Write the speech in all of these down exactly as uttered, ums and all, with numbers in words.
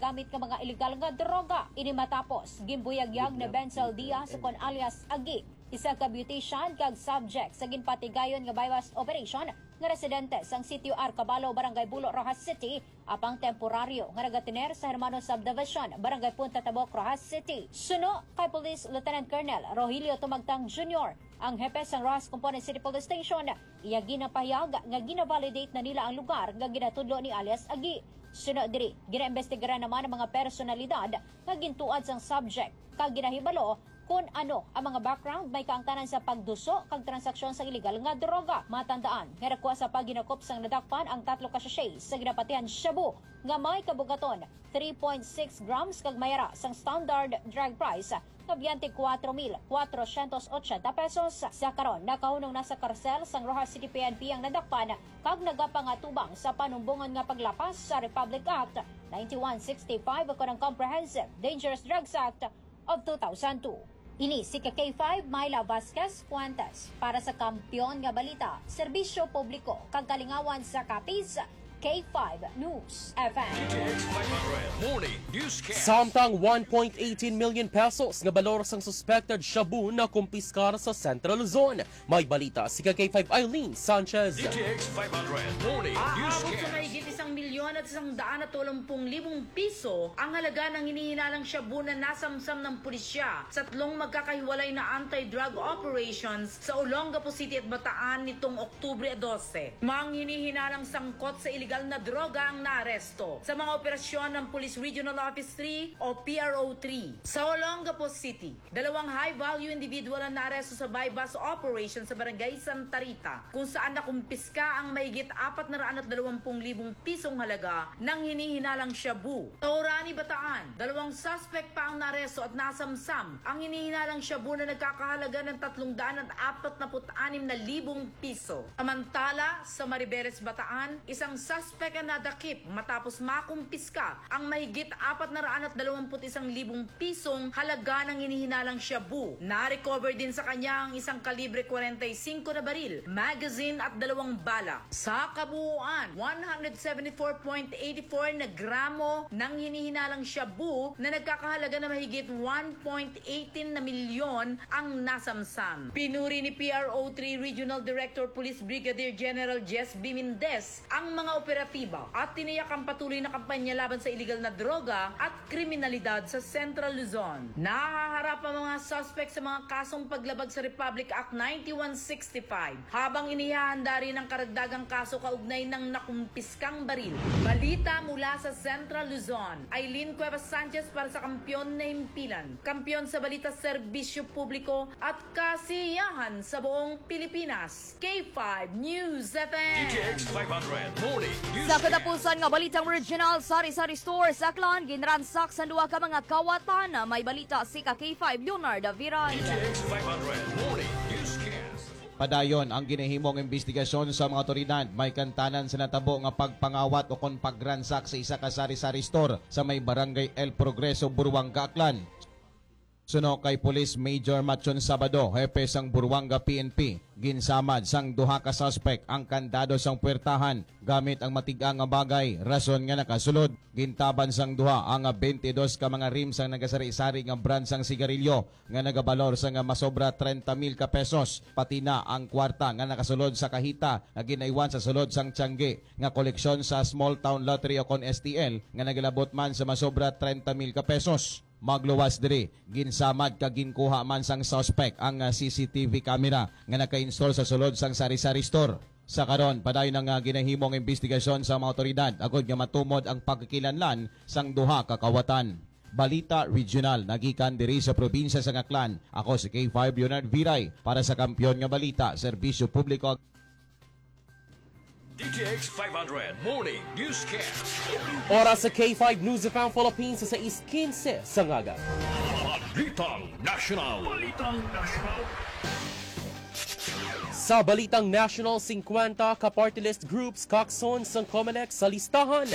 gamit nga mga iligal nga droga. Ini matapos ginbuyagyag ni Benzal Diaz, kon alias Agi, isa ka beautician kag subject sa ginpatigayon nga buy-bust operation nga residente sang Sitio Arcabalo, Barangay Bulo, Roxas City, apang temporaryo nga nagatiner sa Hermano Subdivision, Barangay Punta Tabok, Roxas City. Suno kay Police Lieutenant Colonel Rogelio Tumagtang Junior, ang hepe sang Roxas Component City Police Station, iya ginapahayag nga gina-validate na nila ang lugar nga ginatudlo ni alias Agi. Suno diri, ginaimbestigaran naman ang mga personalidad nga gintuad sang subject kag ginahibalo kon ano ang mga background may kaangtanan sa pagduso kag transaksyon sa iligal nga droga. Matandaan nga nakuha sa paghinakop sang nadakpan ang tatlo ka sachet sa ginapatihan shabu nga may kabugaton three point six grams kag may ara sang standard drug price nga biyente kuwatro mil kwatrosyentos otsenta pesos. Sa karon, nakahunong na sa karsel sang Roxas City P N P ang nadakpan kag nagapangatubang sa panumbongon nga paglapas sa Republic Act ninety-one sixty-five o kanang Comprehensive Dangerous Drugs Act of two thousand two. Ini si ka K five, Myla Vasquez Fuentes, para sa Kampiyon nga Balita, Serbisyo Publiko, kag Kalingawan sa Capiz, K five News F M. D T X five hundred Morning Newscast. Samtang one point eighteen million pesos nga balor sang suspected shabu nakumpiskar sa Central Luzon. May balita si ka K five Eileen Sanchez. D T X five hundred Morning Aabot sa Newscast. Mahigit isang milyon at isang daan at walumpung libong piso ang halaga ng hinihinalang shabu na nasamsam ng pulisya sa tatlong magkakahiwalay na anti-drug operations sa Olongapo City at Bataan nitong Oktubre dose. Mga hinihinalang sangkot sa iligal na droga ang naaresto sa mga operasyon ng Police Regional Office three o P R O three sa Olongapo City. Dalawang high-value individual ang naaresto sa buy-bust operation sa Barangay Santa Rita, kung saan nakumpiska ang mahigit apat na raan at dalawampung libong pisong halaga ng hinihinalang shabu. Taurani, Bataan, dalawang suspect pa ang naaresto at nasamsam ang hinihinalang shabu na nagkakahalaga ng tatlong daan at apat na put anim na libong piso. Samantala, sa Maribeles, Bataan, isang suspect ang nadakip matapos makumpiska ang mahigit apat na raan at dalawamput isang libong pisong halaga ng hinihinalang shabu. Na-recover din sa kanya ang isang kalibre kwarenta y singko na baril, magazine at dalawang bala. Sa kabuuan, one hundred seventy-four point eight four na gramo ng hinihinalang shabu na nagkakahalaga na mahigit one point eighteen na milyon ang nasamsam. Pinuri ni P R O three Regional Director Police Brigadier General Jess B. Mendez ang mga operatiba at tiniyak ang patuloy na kampanya laban sa iligal na droga at kriminalidad sa Central Luzon. Nahaharap ang mga suspect sa mga kasong paglabag sa Republic Act ninety-one sixty-five, habang inihahanda rin ang karagdagang kaso kaugnay ng nakumpiskang baril. Balita mula sa Central Luzon, Eileen Cuevas Sanchez para sa Kampiyon na Himpilan. Kampiyon sa balita, serbisyo publiko at kasiyahan sa buong Pilipinas. K five News F M. D T X five hundred Morning News. Sa katapusan nga balitang regional, sari-sari store sa Aklan, ginransak sa duha ka mga kawatan. May balita si ka K five Leonard Viray. D T X five hundred Morning Newscast. Padayon ang ginahimong imbestigasyon sa mga awtoridad may kaangtanan sa natabo nga pagpangawat o kon pagransak sa isa ka sari-sari store sa may Barangay El Progreso, Buruanga, Aklan. Suno kay Police Major Machon Sabado, hepe sang Buruanga P N P, ginsamad sang duha ka suspek ang kandado sang puwertahan gamit ang matig-a nga bagay, rason nga nakasulod. Gintaban sang duha ang twenty-two ka mga rim sang nagasari-sari nga brand sang sigarilyo nga nagabalor sang masobra treinta mil ka pesos, pati na ang kwarta nga nakasulod sa kahita nga ginaiwan sa sulod sang tiyangge nga koleksyon sa Small Town Lottery o kon S T L nga nagalabot man sa masobra treinta mil ka pesos. Magluwas diri, ginsamad kag ginkuha man sang suspek ang, ah, C C T V camera nga naka-install sa sulod sang sari-sari store. Sa karon, padayon ang, ah, ginahimo nga imbestigasyon sa mga awtoridad agod nga matumod ang pagkikilanlan sang duha ka kawatan. Balita Regional nagikan diri sa probinsya sang Aklan. Ako si K five Leonard Viray para sa Kampiyon nga Balita, Serbisyo Publiko. D T X five hundred Morning Newscast. Oras sa K five News F M Philippines sa sais kinse sa aga. Balitang National. Balitang National. Sa balitang national, singkwenta ka party list groups kakson sang Comelec sa listahan.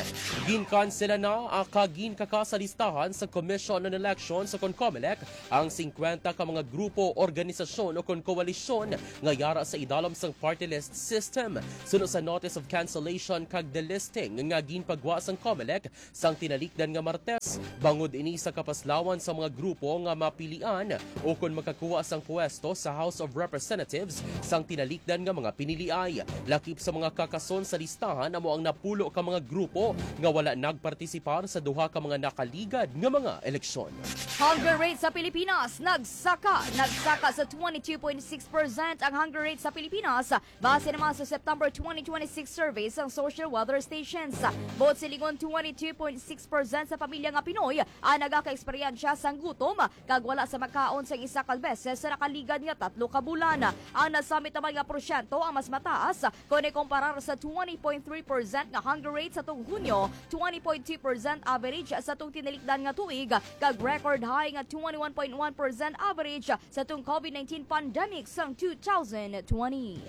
Ginkansela na ang kag ginkaka sa listahan sa Commission on Elections o kon Comelec ang singkwenta ka mga grupo, organisasyon o kon koalisyon nga yara sa idalom sang party list system. Suno sa notice of cancellation kag delisting nga ginpagwa sang Comelec, sang tinalikdan nga Martes, bangod ini sa kapaslawan sa mga grupo nga mapilian o kon makakuha sang pwesto sa House of Representatives sang tinalikdan nga mga piniliay. Lakip sa mga kakason sa listahan amo ang napulo ka mga grupo nga wala nagpartisipar sa duha ka mga nakaligad nga mga eleksyon. Hunger rate sa Pilipinas nagsaka. Nagsaka sa twenty-two point six percent ang hunger rate sa Pilipinas. Base naman sa September twenty twenty-six survey sang Social Weather Stations, buot silingon twenty-two point six percent sa pamilya nga Pinoy ang nagakaeksperyensya sang gutom kag wala sa makaon sang isa ka beses sa nakaligad nga tatlo ka bulan. Ang nasambit naman nga porsyento ang mas mataas kon ikumparar sa twenty point three percent nga hunger rate sa tuong Hunyo, twenty point two percent average sa tuong tinalikdan nga tuig, kag record high nga twenty-one point one percent average sa tuong COVID nineteen pandemic sang two thousand twenty.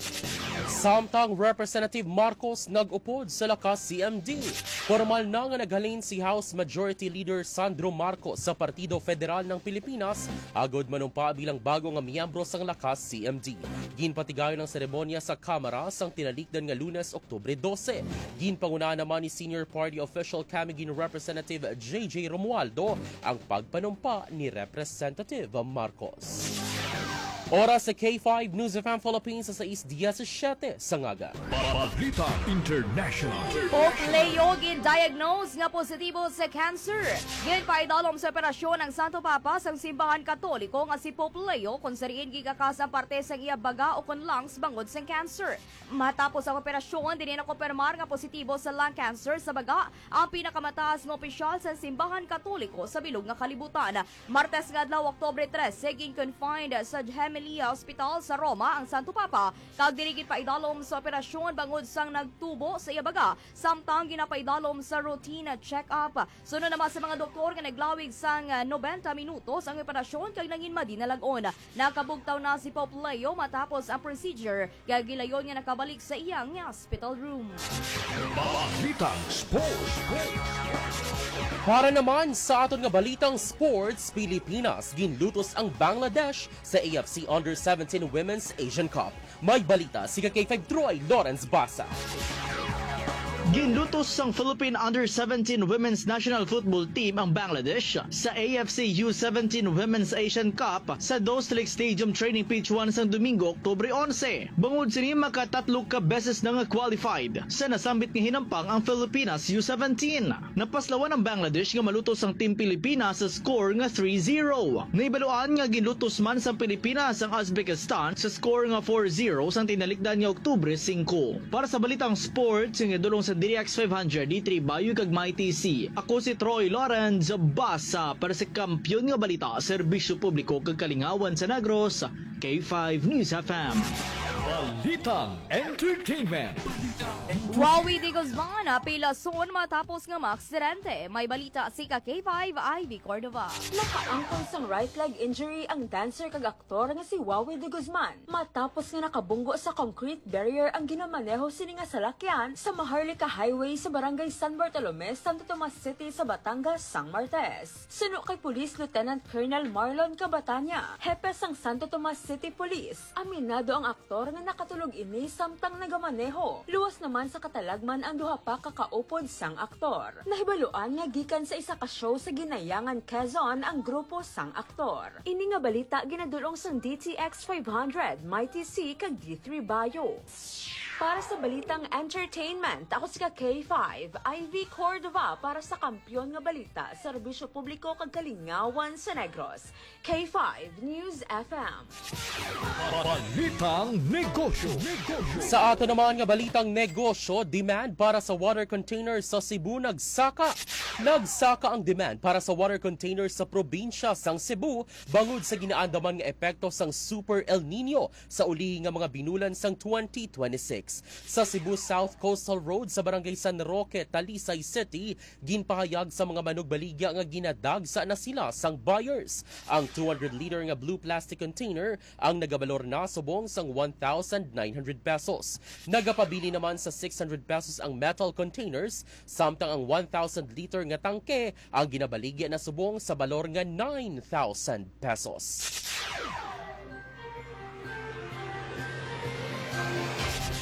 Samtang Representative Marcos nag-upod sa Lakas C M D, formal na nga naghalin si House Majority Leader Sandro Marcos sa Partido Federal ng Pilipinas agod manumpa bilang bago nga miyembro sang Lakas C M D. Ginpatigayon ang seremonya sa Kamara sang tinalikdan nga Lunes, Oktubre dose. Ginpangunahan naman ni Senior Party Official Camiguin Representative J J Romualdo ang pagpanumpa ni Representative Marcos. Oras sa K five News F M Philippines sa sais diecisiete sa ngaga. Balita International. Pope Leo gin-diagnose nga positibo sa cancer. Ginpaidalom sa operasyon ang Santo Papa sang Simbahan Katoliko nga si Pope Leo, kung sa diin gikakas ang parte sang iya baga o kon lungs bangod sang cancer. Matapos ang operasyon, dinhi nakumpirmar nga positibo sa lung cancer sa baga ang pinakamataas nga opisyal sa Simbahan Katoliko sa bilog nga kalibutan. Martes nga adlaw, Oktubre trese, gin-confined sa Gemelli Hospital sa Roma ang Santo Papa, kag diri ginpaidalom sa operasyon bangod sang nagtubo sa iya baga, samtang ginapaidalom sa routine check-up. Suno naman sa mga doktor nga naglawig sang, ah, nobenta minutos ang operasyon kag nangin madinalag-on. Nakabugtaw na si Pope Leo matapos ang procedure, kag gilayon nga nakabalik sa iyang hospital room. Balitang Sports. Para naman sa aton nga balitang sports, Pilipinas ginlutos ang Bangladesh sa A F C Under seventeen Women's Asian Cup. May balita si ka K five Troy Lawrence Basa. Ginlutos sang Philippine Under seventeen Women's National Football Team ang Bangladesh sa A F C U seventeen Women's Asian Cup sa Dost Lake Stadium Training Pitch one sang Domingo, Oktubre onse. Bangod sini, makatatlo ka beses na nga qualified sa nasambit nga hinampang ang Filipinas U seventeen. Napaslawan ang Bangladesh nga malutos ang Team Pilipinas sa score nga three zero. Nahibaluan nga ginlutos man sang Pilipinas ang Uzbekistan sa score nga four zero sang tinalikdan nga Oktubre singko. Para sa balitang sports nga dulong sa D X five hundred, D three Bayo kag Mighty C, ako si Troy Lawrence Basa para sa Kampiyon nga Balita, Serbisyo Publiko kag Kalingawan sa Negros, K five News F M. Balitang Entertainment. Wowie de Guzman, pilason matapos nga maaksidente. May balita si ka K five Ivy Cordova. Nakaangkon sang right leg injury ang dancer kag aktor nga si Wowie de Guzman matapos nga nakabunggo sa concrete barrier ang ginamaneho sini nga salakyan sa Maharlika Highway sa Barangay San Bartolome, Santo Tomas City sa Batangas sang Martes. Suno kay Police Lieutenant Colonel Marlon Cabatania, hepe sang Santo Tomas City Police, aminado ang aktor nga nakatulog ini samtang nagamaneho. Luwas naman sa katalagman ang duha pa ka kaupod sang aktor. Nahibaluan nga gikan sa isa ka show sa Ginayangan, Quezon ang grupo sang aktor. Ini nga balita ginadul-ong sang D T X five hundred, Mighty C kag D three Bayo. Para sa balitang entertainment, ako si ka K five, Ivy Cordova para sa Kampiyon nga Balita, Serbisyo Publiko kag Kalingawan sa Negros, K five News F M. Balitang Negosyo. Negosyo. Sa ato naman nga balitang negosyo, demand para sa water container sa Cebu nagsaka. Nagsaka ang demand para sa water container sa probinsya sang Cebu bangod sa ginaandaman nga epekto sang Super El Nino sa ulihi nga mga binulan sang twenty twenty-six. Sa Cebu South Coastal Road sa Barangay San Roque, Talisay City, ginpahayag sa mga manugbaligya nga ginadagsa na sila sang buyers. Ang two hundred liter nga blue plastic container ang nagabalor na subong sang one thousand nine hundred pesos. Nagapabilin naman sa six hundred pesos ang metal containers, samtang ang one thousand liter nga tangke ang ginabaligya na subong sa balor nga nine thousand pesos.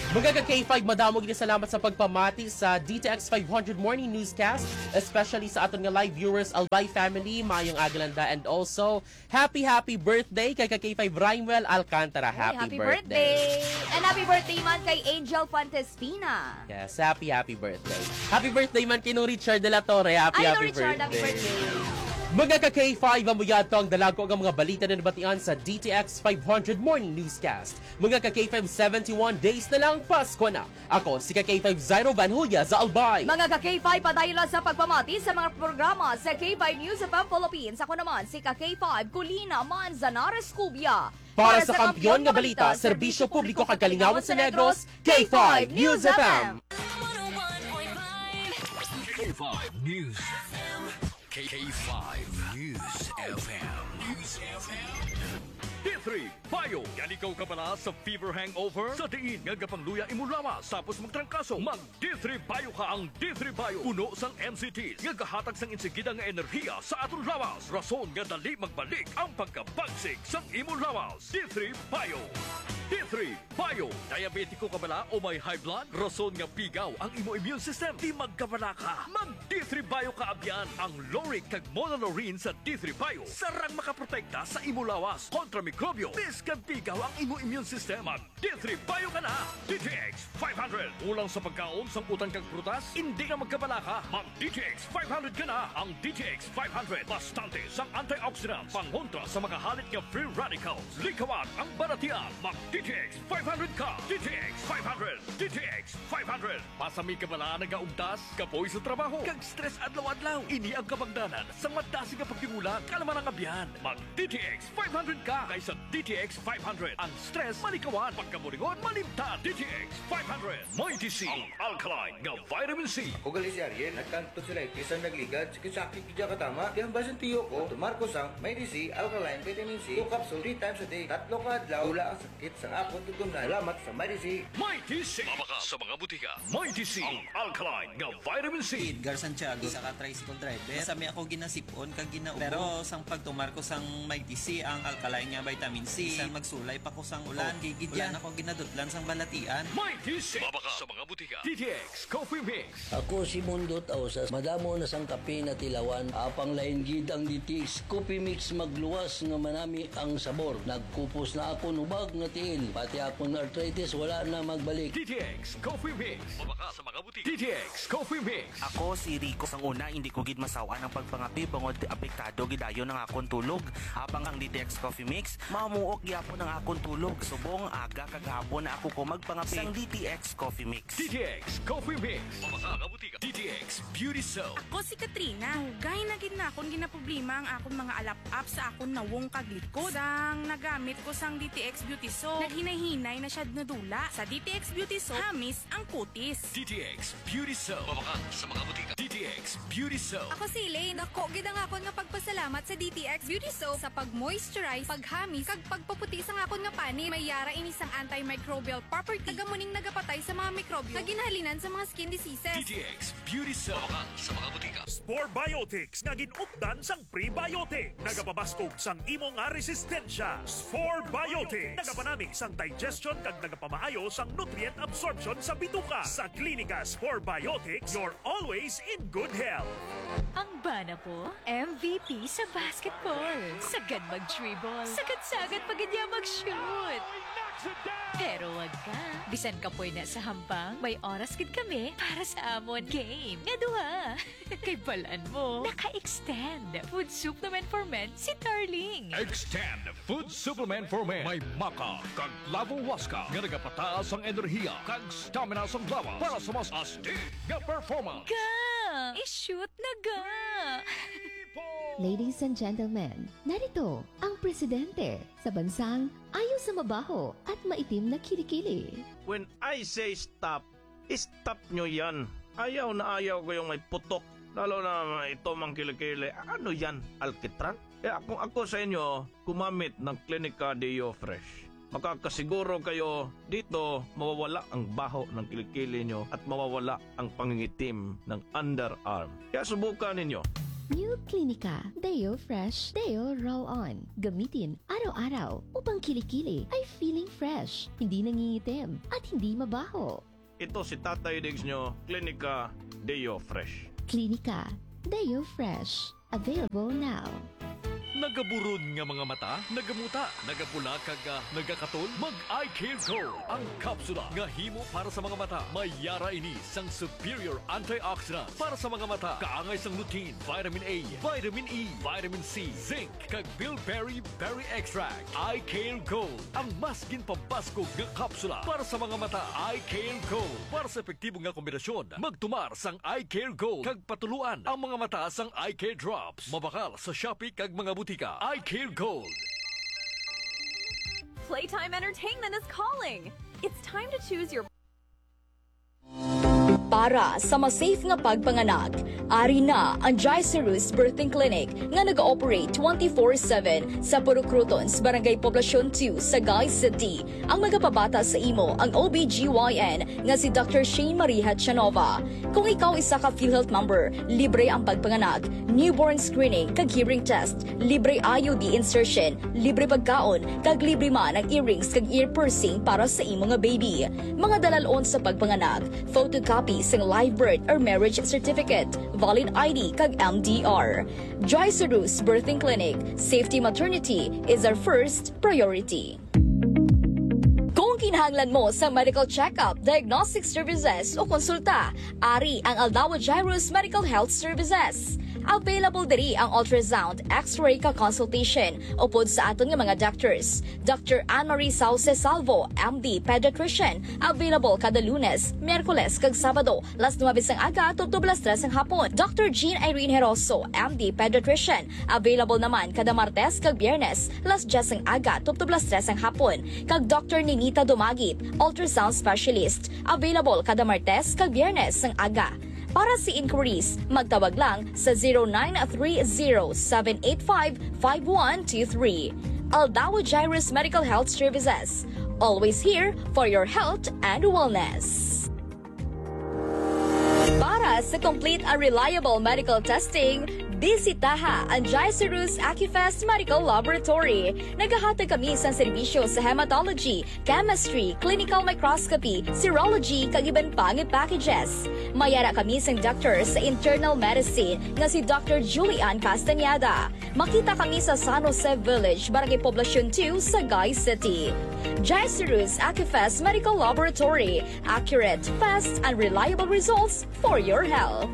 Mga ka K five, madamo gid salamat sa pagpamati sa D T X five hundred Morning Newscast, especially sa aton nga live viewers, Albay family, maayong aga, and also happy, happy birthday kay ka K five Rymwell Alcantara. Ay, happy happy birthday. Birthday. And happy birthday man kay Angel Fontes Pina. Yes, happy, happy birthday. Happy birthday man kay Nong Richard de la Torre. Happy, Ay, happy Nong Richard, birthday. Happy birthday. Mga ka K five, amo yadto ang dalago nga mga balita na nabatian sa D T X five hundred Morning Newscast. Mga ka K five, seventy-one days na lang, Pasko na. Ako si ka K five Zairo Van Julia sa Albay. Mga ka K five, padayon lang sa pagpamati sa mga programa sa K five News F M Philippines. Ako naman si ka K five Colina Manzanares Cubia. Para sa kampiyon nga balita, serbisyo publiko kag kalingawan sa Negros, K five News F M. K five News F M. K five News F M. News F M. D three Bio. Yan ikaw kabala sa fever hangover? Sa diin nga gapangluya imo lawas tapos magtrangkaso? Mag D three Bio ka. Ang D three Bio puno sang M C Ts nga gahatag sang insigida nga enerhiya sa aton lawas, rason nga dali magbalik ang pagkabagsik sang imo lawas. D three Bio. D three Bio. Diabetiko ka bala o may high blood? Rason nga pigaw ang imo immune system. Di magkabalaka. Mag D three Bio ka abyan. Ang lauric kag monolaurin sa D three Bio sarang makaprotekta sa imo lawas kontra mikrobyo. Bisan pigaw ang imo immune system, mag D three Bio ka na. D T X five hundred. Kulang sa pagkaon sang utan kag prutas? Hindi ka magkabalaka. Mag D T X five hundred ka na. Ang D T X five hundred bastante sang antioxidants pangontra sa mga halit nga free radicals. Likawan ang balatian. Mag D T X five hundred ka. D T X five hundred. D T X five hundred. Pasami ka bala nagaugtas, kapoy sa trabaho, kag stress adlaw-adlaw? Ini ang kabangdanan sang madasig nga pagdingula, kalma nga abyan. Mag D T X five hundred ka, kay sa D T X five hundred ang stress malikawan, pagkaburingon malimtan. D T X five hundred. Mighty C, ang alkaline nga vitamin C. Ako gali si Ariel, nagkang tonsillitis ang nagligad, sakit-sakit gid katama. Kaya ang basin tiyo ko, tumar ko sang Mighty C, alkaline vitamin C, two capsule, three times a day. Tatlo ka adlaw, wala ang sakit sang akon tutunan. Salamat sa Mighty C. Mighty C. Mabakal sa mga butika. Mighty C, ang alkaline nga vitamin C. Edgar Santiago, isa ka tricycle driver. Masami ako ginasip-on kag ginaubong. Pero sang pagtumar ko sang Mighty C, ang alkaline nga vitamin C, bisan magsulay pa ko sang ulan, okay gid yan. Wala na ko ginadutlan sang balatian. Mighty C. Mabakal sa mga butika. D T X Coffee Mix. Ako si Mundo Tausas. Madamo na sang kape natilawan. Apang lain gid ang D T X Coffee Mix, magluwas nga manami ang sabor. Nagkupos na akon hubag nga tiil, pati akon arthritis wala na magbalik. D T X Coffee Mix. Mabakal sa mga butika. D T X Coffee Mix. Ako si Rico. Sang una, hindi ko gid masaw-an ang pagpangape bangod apektado gid dayon ang akon tulog. Apang ang D T X Coffee Mix, mamuok gyapon ang akon tulog. Subong aga kag hapon na ako ko magpangape. Sang D T X Coffee Mix. D T X Coffee Mix. Mabakal sa mga butika. D T X Beauty Soap. Ako si Katrina. Dugay na gid na akon ginaproblema ang akon mga alap-ap sa akon nawong kag likod. Sang nagamit ko sang D T X Beauty Soap, naghinay-hinay na siya nadula. Sa D T X Beauty Soap, hamis ang kutis. D T X Beauty Soap. Mabakal sa mga butika. D T X Beauty Soap. Ako si Elaine. Dako gid ang akon nga pagpasalamat sa D T X Beauty Soap sa pag-moisturize, paghamis, kag pagpaputi sang akon nga panit. May yara ini sang antimicrobial property, kag amo ning nagapatay sa mga mikrobyo nga ginahalinan sa mga skin diseases. D T X Beauty Soap. Mabakal sa mga butika. Spore Biotics nga gin-updan sang prebiotics. Nagapabaskog sang imo nga resistensya. Spore Biotics. Nagapanami sang digestion kag nagapamaayo sang nutrient absorption sa bituka. Sa Klinika Spore Biotics, you're always in good health. Ang bana ko, M V P sa basketball. Sagad mag-dribble. Sagad-sagad pa gid niya mag-shoot. Pero wag ka. Bisan kapoy na sa hampang, may oras gid kami para sa amon game nga duha. Kay balan mo, naka-extend food supplement for men si Tarling. Extend food supplement for men. May maca kag flavowaska nga nagapataas ang enerhiya kag stamina sang lawas para sa mas astig nga performance. Ga! I-shoot na ga! Ladies and gentlemen, narito ang presidente sa bansang ayo sa mabaho at maitim na kilikili. When I say stop, stop nyo yan. Ayaw na ayaw ko yung may putok. Lalo na ito mang kilikili. Ano yan? Alkitran? Kaya kung ako sa inyo, gumamit ng Clinica Deo Fresh. Makakasiguro kayo dito, mawawala ang baho ng kilikili nyo at mawawala ang pangingitim ng underarm. Kaya subukan ninyo. New Clinica Deo Fresh Deo Roll-On. Gamitin araw-araw upang kilikili ay feeling fresh, hindi nangingitim, at hindi mabaho. Ito si Tatay Diggs nyo, Klinika Deo Fresh. Klinika Deo Fresh. Available now. Nagaburon nga mga mata, nagamuta, nagapula kag ah, nagakatol? Mag Eye Care Gold, ang kapsula nga himo para sa mga mata. May yara ini sang superior antioxidants para sa mga mata, kaangay sang lutein, vitamin A, vitamin E, vitamin C, zinc, kag bilberry berry extract. Eye Care Gold, ang mas ginpabaskog nga kapsula para sa mga mata. Eye Care Gold, para sa epektibo nga kombinasyon, magtumar sang Eye Care Gold kag patuluan ang mga mata sang Eye Care Drops. Mabakal sa Shopee kag mga butika. Eye Care Gold. Playtime Entertainment is calling. It's time to choose your Para sa mas safe nga pagpanganak, ari na ang Gicerus Birthing Clinic nga nag-ooperate twenty-four seven sa Purok Crotons, Barangay Poblacion two, Sagay City. Ang magapabata sa imo ang O B G Y N nga si Doctor Shane Marie Hachanova. Kung ikaw isa ka PhilHealth member, libre ang pagpanganak, newborn screening kag hearing test, libre I U D insertion, libre pagkaon, kag libre man ang earrings kag ear piercing para sa imo nga baby. Mga dalal-on sa pagpanganak, photocopy sang live birth or marriage certificate, valid I D kag M D R. Joy Cerus Birthing Clinic, safety maternity is our first priority. Kung kinahanglan mo sa medical check-up, diagnostic services o konsulta, ari ang Aldawa Jairus Medical Health Services. Available diri ang ultrasound, X-ray ka consultation upod sa aton nga mga doctors, Doctor Anne Marie Sauce Salvo, M D, pediatrician, available kada Lunes, Miyerkules kag Sabado, las nuebe sang aga tubtob las tres sang hapon. Doctor Jean Irene Heroso, M D, pediatrician, available naman kada Martes kag Biyernes, las dyes sang aga tubtob las tres sang hapon, kag Doctor Ninita Dumagit, ultrasound specialist, available kada Martes kag Biyernes sang aga. Para sa inquiries, magtawag lang sa zero nine three zero seven eight five five one two three. Aldawa Jairus Medical Health Services. Always here for your health and wellness. Para sa complete and reliable medical testing, bisitaha ang Gicerus Acufest Medical Laboratory. Nagahatag kami sang serbisyo sa hematology, chemistry, clinical microscopy, serology, kag iban pa nga packages. May ara kami sang doctor sa internal medicine nga si Doctor Julian Castañeda. Makita kami sa San Jose Village, Barangay Poblacion two, Sagay City. Gicerus Acufest Medical Laboratory. Accurate, fast, and reliable results for your health.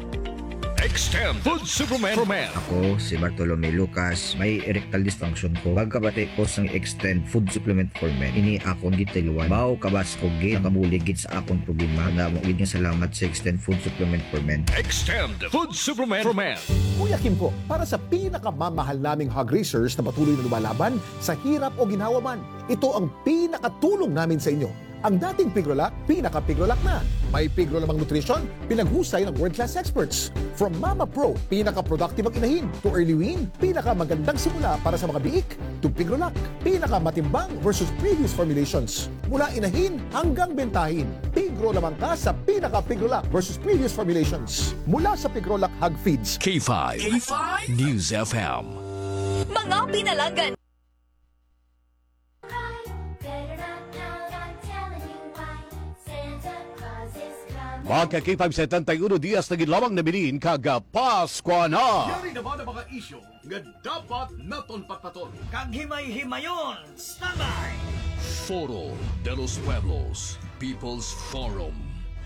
Extend Food Supplement for Men. Ako si Bartolome Lucas, may erectile dysfunction ko. Pagkabati ko sang Extend Food Supplement for Men, ini akon gitiluan. Mao kabas ko gid ang kabulig gid sa akon problema. Damo gid nga salamat sa Extend Food Supplement for Men. Extend Food Supplement for Men. Kuya Kim po, para sa pinakamamahal naming hog raisers na patuloy na lumalaban sa hirap o ginhawa man, ito ang pinakatulong namin sa inyo. Ang dating Pigrolac, pinaka-Pigrolac na. May Pigro lamang nutrition, pinaghusay ng world-class experts. From Mama Pro, pinaka-productive ang inahin, to Early Wean, pinakamagandang simula para sa mga biik, to Pigrolac, pinakamatimbang versus previous formulations. Mula inahin hanggang bentahin, Pigro lamang ka sa pinaka-Pigrolac versus previous formulations. Mula sa Pigrolac Hog Feeds. K five News F M. Mga pinalanggan. Mga ka-K five, setenta y uno dias na gid lamang nabilin kag Paskwa na. Yari naman ang mga isyu nga dapat naton patpaton. Kag himay-himayon, standby! Foro de los Pueblos, People's Forum,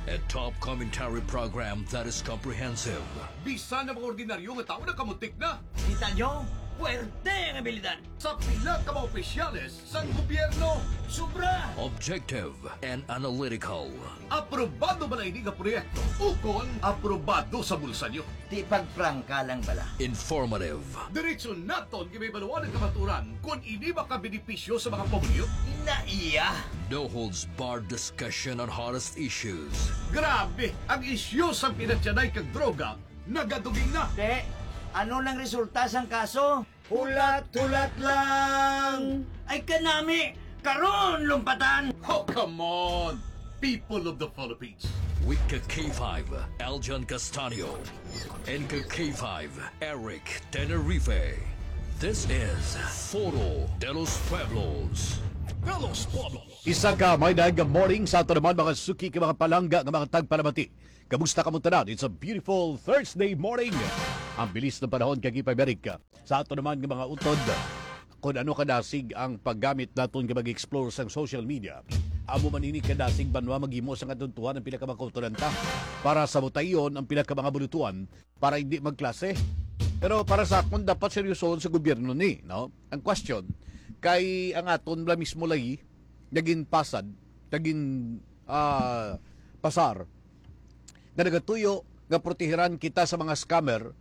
a top commentary program that is comprehensive. Bisan ang mga ordinaryo nga tawo nakamutik na. Kita nyo? Puwerte ang abilidad! Sa pila ka mga opisyales sang gobyerno. Sobra! Objective and analytical. Aprobado ba na ini nga proyekto? Ukon aprobado sa bulsa nyo? Di pagprangka lang bala. Informative. Diretso naton gibabaluan ang kamaturan kon ini makabenepisyo sa mga pumuluyo. Naiya! No holds barred discussion on hottest issues. Grabe! Ang isyu sa pinatyanay kag droga nagaduging na. Te, ano nang resulta sang kaso? Hulat-hulat lang! Ay kanami! Karon, lumpatan! Oh, come on! People of the Philippines. With ka K five, Aljan Castanio. And ka K five, Eric Tenerife. This is Foro de los Pueblos. De los Pueblos. Isa ka may daig nga morning sa ato naman, mga suki, kag mga palangga nga mga tagpalamati. Kamusta kamo tanan? It's a beautiful Thursday morning. Ang bilis ng panahon, kag ipabalik sa ato naman nga mga utod. Kung ano kadasig ang paggamit naton nga mag-explore sa social media, amo man ini kadasig banwa maghimo sa katuntuhan ang pila ka mga kautoran ta para sa butayon ang pila ka mga bulutuan para hindi magklase. Pero para sa akon, dapat seryosohon sa gobyerno ni, no? Ang question, kay ang aton bala mismo lagi, naging pasad, naging, ah, pasar, nga nagatuyo nga protehiran kita sa mga scammer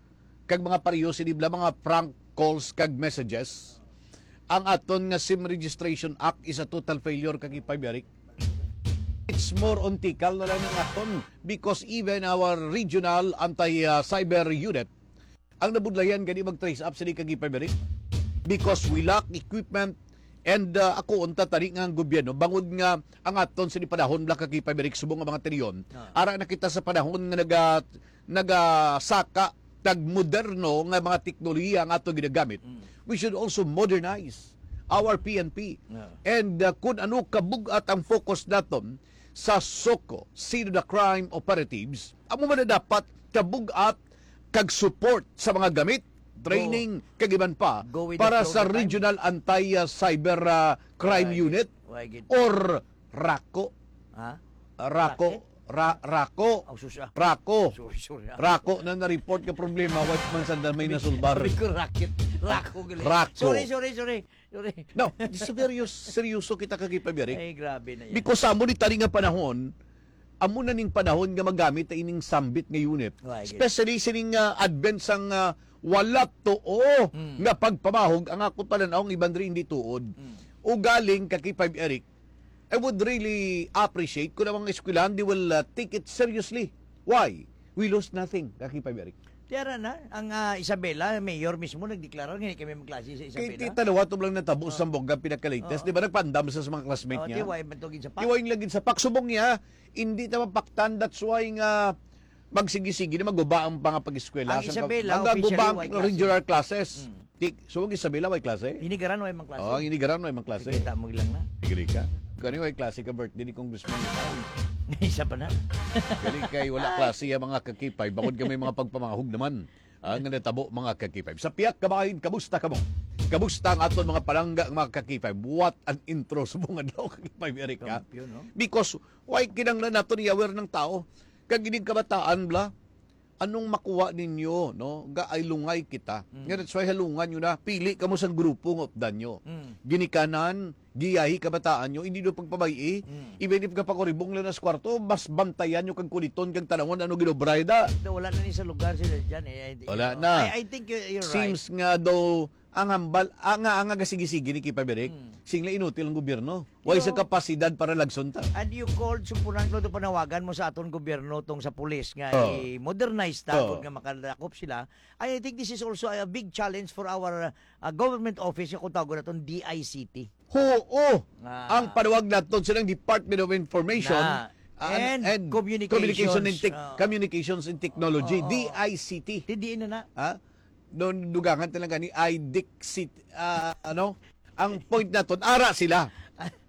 kag mga pareho sini bala mga prank calls kag messages. Ang aton nga SIM Registration Act is a total failure, kag ipabalik. It's more on tikal na lang ang aton, because even our regional anti, ah, cyber unit ang nabudlayan gani mag-trace up sini, kag ipabalik, because we lack equipment. And, ah, ako unta tani nga ang gobyerno, bangod nga ang aton sini panahon bala, kag ipabalik, subong nga mga trilyon, ara na kita sa panahon nga naga-, nagasaka tag moderno nga mga teknolohiya ang ato ginagamit. We should also modernize our P N P. And, ah, kung ano kabug-at ang focus naton sa SOCO, Sino the Crime Operatives, amo man na dapat kabug-at kag support sa mga gamit, training, kag iban pa para sa Regional Anti, ah, Cyber, ah, Crime Unit or RACO. Ha? RACO. Ra-, RACO. Oh, sus, ah. RACO. Sorry, sorry, ah. RACO na na-report nga problema, wa man sanda may nasulbar. Sorry ko, racket. RACO, gali. RACO. Sorry, sorry, sorry. Sorry. No, seryoso, seryoso kita, kag ipabalik. Ay, grabe na yan. Because amo ni tani nga panahon, amo na ning panahon nga magamit na ining sambit nga unit. Especially sining, ah, advent sang, ah, wala tuo nga pagpamahog. Ang ako panan-aw, ang iban diri hindi tuod. Ugaling, kag ipab-, Eric, I would really appreciate kung ang mga eskwelahan, they will, uh, take it seriously. Why? We lose nothing, kag ipab-, Eric. Tiara na, ang, ah, Isabela, mayor mismo nagdeklarar nga hindi kami magklase sa Isabela. Kay tita, nawa to lang natabo sa Zamboanga, pinaka-latest. Oo. Di ba, nagpaandam sa, sa mga classmate niya? Tiway man to gid sa pak. Tiway lang gid sa pak. Subong niya, hindi ta mapaktan. That's why nga magsigi-sigi na maguba ang mga pag-eskwela. Ang sa Isabela, officially, white classes. Regular classes. Mm. Di, so, ang Isabela, way klase? Inigaran, way mang klase. Oh, ang Inigaran, way mang klase. Kita mo lang na. Tigili ka. Kani, way klase ka birthday ni Congressman. Isa pa na. Gali kay wala klase ang mga kakipay. Bangod ka may mga pagpamahog naman. Ang natabo, mga kakipay. Sa piyak kabahin, kamusta ka mo? Kamusta ang aton mga palangga, mga kakipay? What an intro sa mga adlaw, kakipay, Eric, ha? Kampiyon, no? Because, why kinanglan nato ni aware ng tao? Kag ining kabataan, bla? Anong makuha ninyo, no? Ga ay lungay kita. Mm. Nga, that's why halungan nyo na. Pili kamo sang grupo nga updan nyo. Mm. Ginikanan, giyahi kabataan nyo, hindi nyo pagpabay-i. Mm. Even if kapakuribong lang nas kwarto, mas bantayan nyo kag kuliton kag tanawon ano ginobray da. Wala na ni sa lugar sila dyan, eh. I, Wala you know, na. I, I think you're, you're right. Seems nga daw ang hambal, ah, nga, nga gasigi-sigi ni Kipa Berek, Hmm. singla inutil ang gobyerno. Way sa Yo. kapasidad para lagson ta. And you called, sumpunan ko ito panawagan mo sa aton gobyerno tong sa pulis nga Oh. i-modernize ta, Oh. kung nga makalakop sila. I think this is also a big challenge for our, uh, government office, yung kung tawag natin, D I C T. Oo. Ah. Ang panawag naton silang Department of Information Na. and, And and Communications. Communication and Tech-, Oo. Communications and Technology, Oo. D I C T. Tindiin na na. Ha? Doon, dugangan talaga ni I D I C T, ah, ano? Ang point naton, ara sila.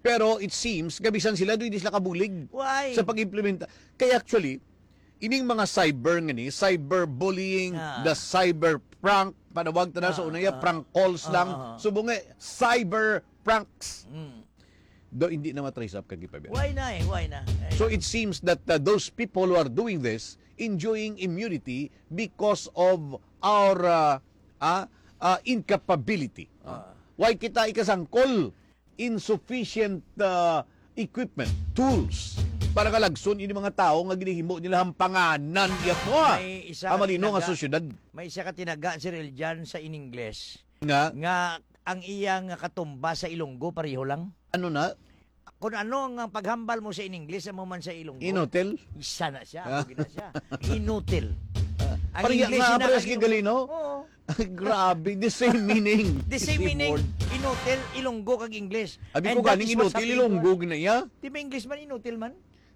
Pero it seems, gabisan sila, doon hindi sila kabulig Why? sa pag-implementa. Kaya actually, ining mga cyber nga ni, cyberbullying, Ah. the cyber prank, panawag ta na sa Ah, una, ya, ah. prank calls Ah, lang. ah, ah. Subong nga, cyber pranks. Mm. Do, hindi na matrace up kag ipabiya. Why na eh? Why na? Eh, So it seems that, uh, those people who are doing this, enjoying immunity because of our, uh, ah, ah, incapability. Ah. Why kita ikasangkol? Insufficient, uh, equipment, tools, para kalagson ini mga tao nga ginahimo nila hampanganan iya to, ah. May isa Ang ka malino nga tinaga, sosyedad. may isa ka tinaga, Sir Eljan, sa in English. Nga? Nga ang iyang katumba sa Ilonggo, pareho lang. Ano na? Kung ano ang paghambal mo sa in English, amo man sa Ilonggo. Inutil? Isa na siya, Ah. amo gid na siya. Inutil. Ah. Ang Pareha English nga, ina-, parehas ang kay Ilonggo. Galino? Oo. Grabe, the same meaning. The same meaning, word. Inutil, Ilonggo kag English. Abi ko ganing inutil, Ilonggo na iya. Di ba English man, inutil man?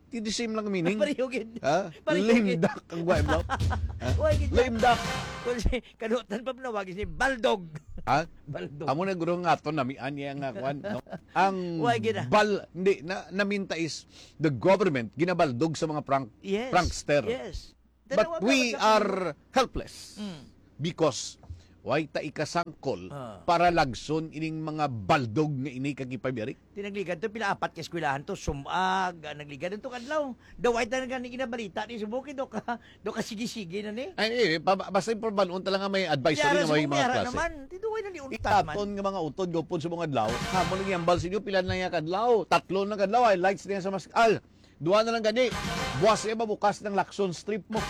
Di the same lang meaning. Pareho gid. Ha? Pareho gid. Lame duck ang guwa, bro. Ha? Why gid? Lame duck. Kung si, kanutan pa nawag si Baldog. Ha? Baldog. Amo na guro nga aton namian niya nga kwan, no? Ang Why gid, ah? bal-, hindi, na, naminta is the government ginabaldog sa mga prank-, Yes. prankster. Yes. But Tanawa we ka, are helpless Mm. because way ta ikasangkol Ah. para lagson ining mga baldog nga ini kag ipabiri. Tinagligad to, pila apat ka eskwelahan to, sumag, ah, nagligad to kadlaw. Daway ta na gani ginabalita ni subok, do ka, do ka sige-sige na ni. Ay, eh, pa-, basta yung pabalon talaga may advisory Yara na sa may mga mga yara klase. naman, tiduway na ni untat man. Ihaton nga mga utod gupon sa mga adlaw, amo lang yambal sa inyo, pila na niya kadlaw, tatlo na kadlaw, ay lights niya sa mas-, al, duha na lang gani, buwas niya mabukas ng Lacson strip mo.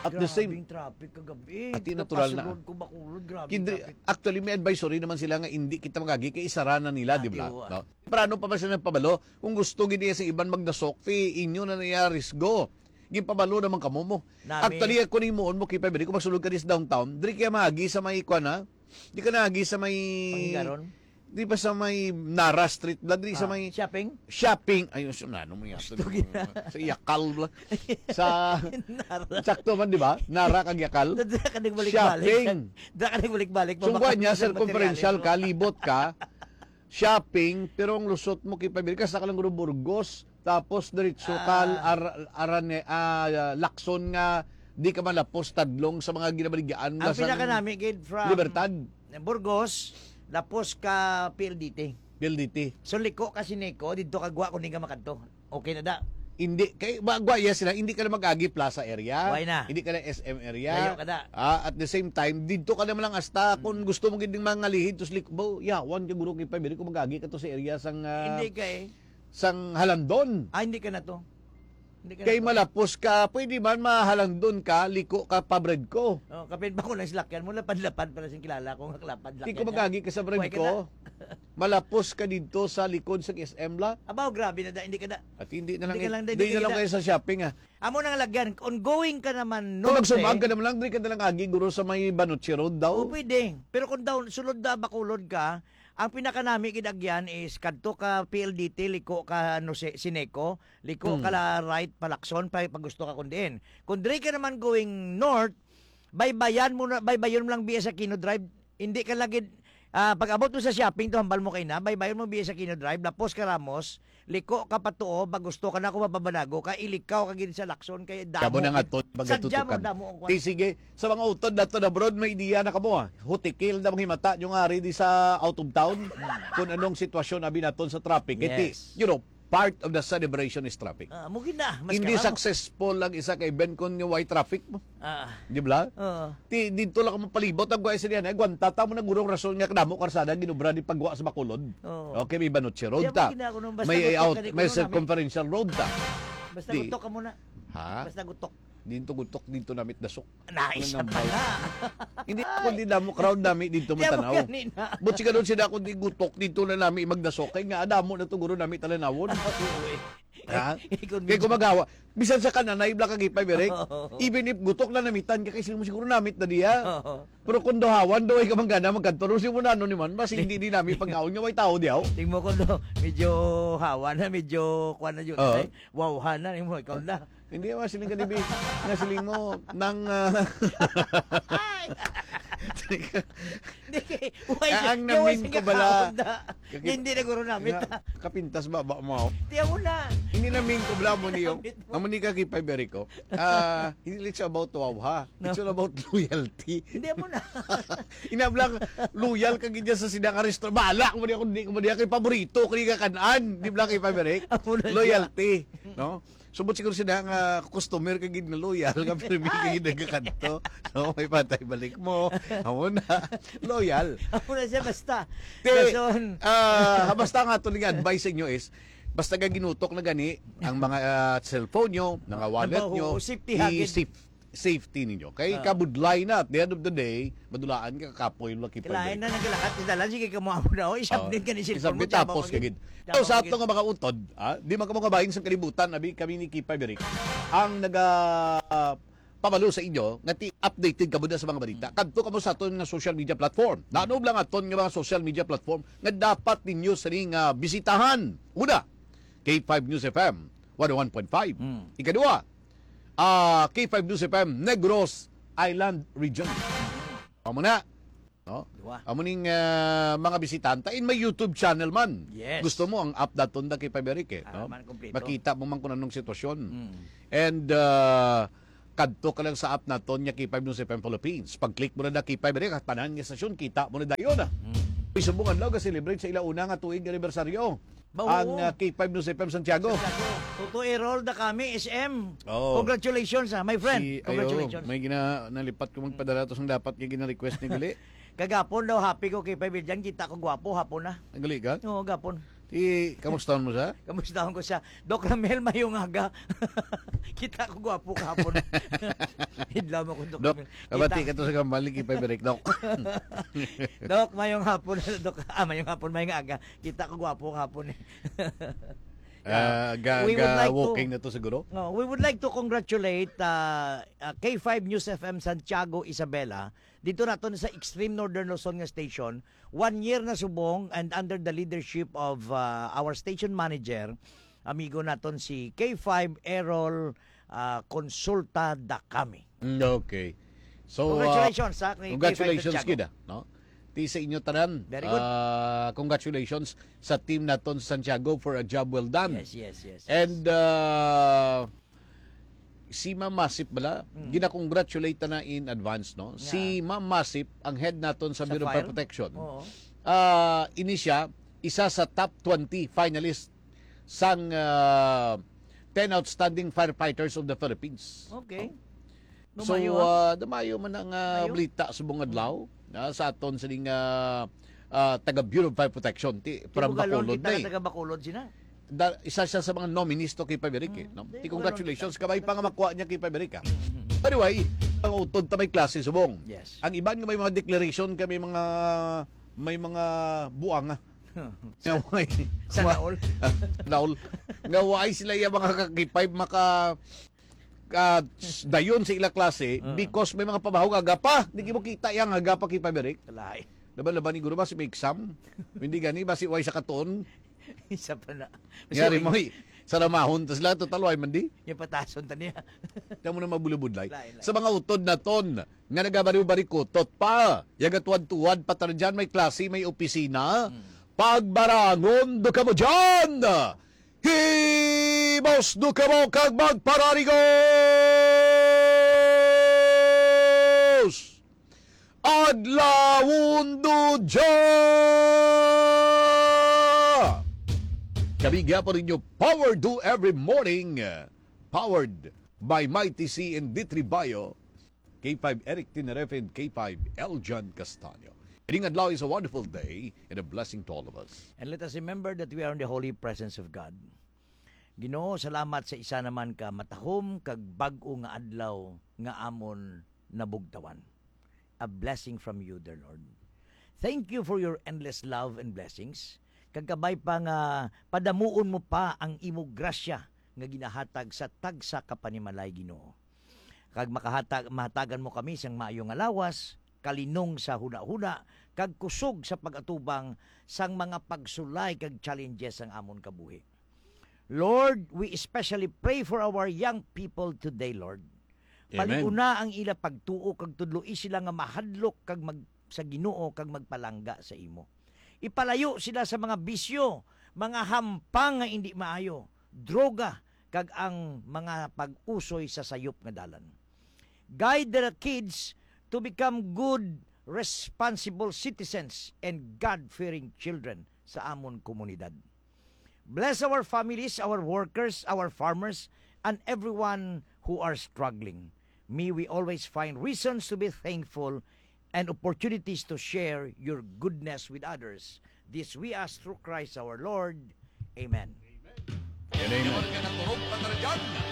At the same Grabing traffic kagabi. Ati, natural na. Kapasulod ko, Bacolod, grabing Kindri-, traffic. Actually, may advisory naman sila nga hindi kita magagi kay isara na nila, Ah, di ba? tiwa. No? Temprano pa ba sila nagpabalo? Kung gusto gid niya sa iban magdasok, ti inyo na niya risgo. Ginpabalo naman kamo mo. Nami. Actually, ako ning muon mo, Kipay, bili ko magsulod ka dis downtown. Diri kaya maagi sa may, kwan, ha? Di ka naagi sa may Panggaron? Di ba sa may Nara Street? Diri sa Ah, may shopping? shopping. Ayun, so, ano mo yan? Gusto gina. Sa Yakal, bla. Sa Nara. Sakto man, di ba? Nara kag Yakal. Dira ka nagbalik-balik. Shopping. Dira ka nagbalik-balik. So, Mabaka kwan niya, sa circumferential materials mo. ka, libot ka, shopping, pero ang lusot mo, kay pabili ka, sa ka lang guro Burgos, tapos diretso ka, Ah. ar-, arane-, ah, Lacson nga, di ka malapos tadlong sa mga ginabaligyan Ang nila sa pinakanami, gid, from Libertad. Burgos, lapos ka P L D T. P L D T. So, liko ka Sineco, didto ka gwa kung di ka makadto. Okay na da. Hindi, kay, ba, gwa, yes, sila, hindi ka na mag-agi plaza area. Why na? Hindi ka na S M area. Layo ka na. Ah, at the same time, didto ka naman lang hasta kung Mm. gusto mo gid ning mga lihid, tos lik-, bo, yawan ka guro kay pabili kung mag-agi ka to sa area sang, ah, Hindi kay sang Halandon. Ah, hindi ka na to. Hindi ka Kay na to. malapos ka, pwede man mahalandon ka, liko ka pa Bredco. Oh, kapin ba ko lang silakyan mo, lapad-lapad pala sing kilala ko nga lapad Di ko lakyan ka. mag-agi ka sa Why ka Bredco. na? Malapos ka didto sa likod sa S M la. Abaw, grabe na da, hindi ka na. At hindi na lang, Hindi ka lang, hindi hindi na ka lang na. kayo sa shopping, ah. Amo nang lagyan, ongoing ka naman, Kung norte. magsumag ka naman lang, di ka na lang agi, guro, sa may Banuchi Road daw. Oh, pwede. Pero kung daw, sulod na Bacolod ka, ang pinakanami gid agyan is kadto ka P L D T, liko ka, ano, si-, Sineco, liko Hmm. ka la right pa Lacson, pa, pag gusto ka kung diin. Kung diri ka naman going north, baybayan mo na, baybayon mo lang biya sa Aquino Drive, Hindi ka lagi, ah, pag-abot mo sa shopping, to hambal mo kay na, baybayon mo biya sa Aquino Drive, lapos ka Ramos, liko ka pa tuo, pag gusto ka na ako mapabanago, kay ilikaw ka gid sa Lacson, kay damo Kamo na nga gid. to, Sadya mo, magatutukan. damo ang kwan. Di, sige, sa mga utod nato na abroad, may ideya na kamo, ah. Hutikil na mga himata nyo nga ari di sa out of town, kung anong sitwasyon abi naton sa traffic. Kay ti, Yes. you know, part of the celebration is traffic. Ah, mo gid na, mas Hindi karamo. successful ang isa ka event kung yung way traffic mo. Ah. Di ba? Oo. Ti, dito lang ka mapalibot ang guwa sa diyan. Eh, gwanta ta mo na gurong rason nga kadamo karsada ginubra di pagwa sa Bacolod. Oo. Okay, may Banuchi Road Di, ta. mo gid na ako nung basta May gutok out, ka, di may ko nung circumferential road ta. Basta Di. gutok ka muna. Ha? Basta gutok. Dito gutok, dito namit dasok. Nais Ano na nang pala. Hindi ko, hindi damo crowd nami dito Di, mo matanaw. ganina. But siya doon sila kung di gutok dito na nami magdasok. Kaya nga, adamo na to guro nami talanawon. Oo, eh. Ha? Ikaw Kaya mismo. gumagawa. Bisan sa kananay, bla kag ipay, Berek. Oo. Even if gutok na namitan ka, kay sino mo siguro namit na diya. Oo. Pero kung daw hawan, daw ay kamanggana, magkadto, si mo na ano naman, mas hindi din namin pagkaon nga may tao diyaw. Ting mo kung do, medyo hawa na, medyo kuwan na yun. Oo. Ay, wawhan na, mo, ikaw na. Hindi, mas siling ka, dibi, nga siling mo, nang, ah, Ay! Hindi, why, Ah, ang why namin sige ko bala, ka, Honda? Kaki- Hindi na guro namit, Nga, ah. kapintas ba, ba mo? Tiyan mo na. Hindi namin ko bala mo niyo. Kapit mo. Amo ni Kaki Paberico. Ah, hindi, it's about wow, ha? No. It's all about loyalty. Hindi mo na. Inablang, loyal ka gid sa sida ka restaurant. Bala ko niya kung di ko niya kay paborito ko niya kanan. Di ba kay Paberic? Amo na siya. Loyalty, no? Subot siguro sila nga customer ka gid na loyal, nga pirmi ka gid nagkakanto. No, may patay balik mo. Amo na. Loyal. Amo na siya, basta. Te, Dason. ah, basta nga to nga advice sa inyo is, basta ka ginutok na gani ang mga, ah, cellphone nyo, mga wallet Ang nyo, baho, safety i-, hagid. safe, safety ninyo. Kay Ah. kabudlay na, at the end of the day, madulaan ka, kapoy, lucky Kailangan pwede. na naglakat ni Dalan, sige ka mo amo na, oh, isabit Oh, ka ni cellphone isabit mo, tapos tsaka ka gid. Tapos So, sa ka gid. ato nga mga utod, ah, di man ka mga bahin sa kalibutan, abi kami ni Kipay Berik. Ang naga, ah, pabalo sa inyo nga ti updated kamo na sa mga balita, kadto kamo sa aton nga social media platform. Naano lang aton nga mga social media platform nga dapat ninyo sini nga bisitahan? Una, K five News F M one oh one point five. Mm. Ikadua, ah, K five News F M Negros Island Region. Amo na. No? Dua. Amo ning, ah, mga bisitanta in my YouTube channel man. Yes. Gusto mo ang app daton da kay Paberic, eh, Ah, no? Man kompleto. Makita mo man kung anong sitwasyon. Mm. And, ah, kadto ka lang sa app naton nga K five News F M Philippines. Pag-click mo na na K five Direct, at tanan nga estasyon, kita mo na dayon, ah. Mm. Uy, subong adlaw, ga-celebrate sa ila una nga tuig anibersaryo Ba, ang, oo. ah, K five News F M Santiago. Santiago. Tuto Errol da kami, S M. Oo. Congratulations, ah, my friend. Si, ayo, Congratulations. May gina-, nalipat ko magpadala to sang dapat nga gina-request ni Gali. Kagapon daw, happy ko kay Paberic. Kita ko gwapo, hapon na. Ang gali ka? Oo, gapon. Ti, kamusta mo sa? Kamusta ko sa Doc Ramel, mayong aga. Kita ko gwapo kahapon. Hidlaw mo ko, Doc Doc, Ramel. Kabati Kita ka to sa kambal ni Kipay Berek, Doc. Doc, mayong hapon, Doc. Ah, mayong hapon, mayong aga. Kita ko gwapo kahapon, eh. Ah, ga-, We would ga-, like to walking na to siguro? No, we would like to congratulate, uh, uh, K five News F M Santiago Isabela, dito naton sa Extreme Northern Luzon nga station, one year na subong, and under the leadership of, uh, our station manager, amigo naton si K five Errol, uh, Consulta Dakami. Mm, okay. So, uh, Congratulations, ha, kay K five Santiago. Congratulations gid, ah, no? Ti sa inyo tanan. Very good. Ah, congratulations sa team naton sa Santiago for a job well done. Yes, yes, yes, yes. And, uh, si Ma'am Masip bala, Mm. gina-congratulate na in advance, no? Si Yeah. Ma'am Masip, ang head naton sa Sa Bureau of Fire fire? Protection. Oo. Ah, ini siya, isa sa top twenty finalist sang, ah, ten outstanding firefighters of the Philippines. Okay. So, Dumayo, ah. ah, dumayo man ang, ah, Mayo. balita subong adlaw, Mm. ah, sa aton sining, ah, ah, taga Bureau of Fire Protection, ti, from Bugalon Bacolod kita na eh. taga Bacolod sina. Da-, isa siya sa mga nominees to kay Paberic, eh, Mm, no? di, Ti, Bugalon congratulations, kita. kabay pa nga makuha niya kay Paberic, ah. Mm, mm, mm. Anyway, ang utod ta may klase subong. Yes. Ang iban nga may mga declaration kay may mga, may mga buanga. Nga way, Sana wa-, all. Sana all. Nga way sila iya mga ka-K five maka-, ka-, dayon sa ila klase Ah. because may mga pamahaw nga aga pa. Di mo kita iya nga aga pa kay Paberic. Lahi. Laban-laban ni guro ba si may exam? Hindi gani ba si way sa katon? Isa pa na. Nga rin mo, eh. Sa ramahon, tas lang, total, way man di. Yung patason ta niya. Tamo na mabulubudlay. Lain, lain. Sa mga utod naton, nga nagabariw-barikutot pa, yagatuwad-tuwad pa tara dyan, may klase, may opisina. Hmm. Pagbarangon do kamo dyan! Himos do kamo kag magpararigos! Adlawon do dya! Kami gyapon ninyo, Power Do Every Morning, powered by Mighty C and D three Bio, K five Eric Tinarefe and K five Eljan Castaño. Ining adlaw is a wonderful day and a blessing to all of us. And let us remember that we are in the holy presence of God. Ginoo, salamat sa isa naman ka matahom kag bag-o nga adlaw nga amon nabugtawan. A blessing from you, dear Lord. Thank you for your endless love and blessings. Kag kabay pa nga padamuon mo pa ang imo grasya nga ginahatag sa tagsa ka panimalay, Ginoo. Kag makahatag, mahatagan mo kami sang maayo nga lawas, kalinong sa hunahuna, kag kusog sa pag-atubang sang mga pagsulay kag challenges sang amon kabuhi. Lord, we especially pray for our young people today, Lord. Amen. Paliuna ang ila pagtuo kag tudloi sila nga mahadlok kag mag-, sa Ginoo kag magpalangga sa imo. Ipalayo sila sa mga bisyo, mga hampang nga indi maayo, droga, kag ang mga pag-usoy sa sayop nga dalan. Guide the kids to become good, responsible citizens and God-fearing children sa amon komunidad. Bless our families, our workers, our farmers, and everyone who are struggling. May we always find reasons to be thankful and opportunities to share your goodness with others. This we ask through Christ our Lord. Amen. Amen. Amen.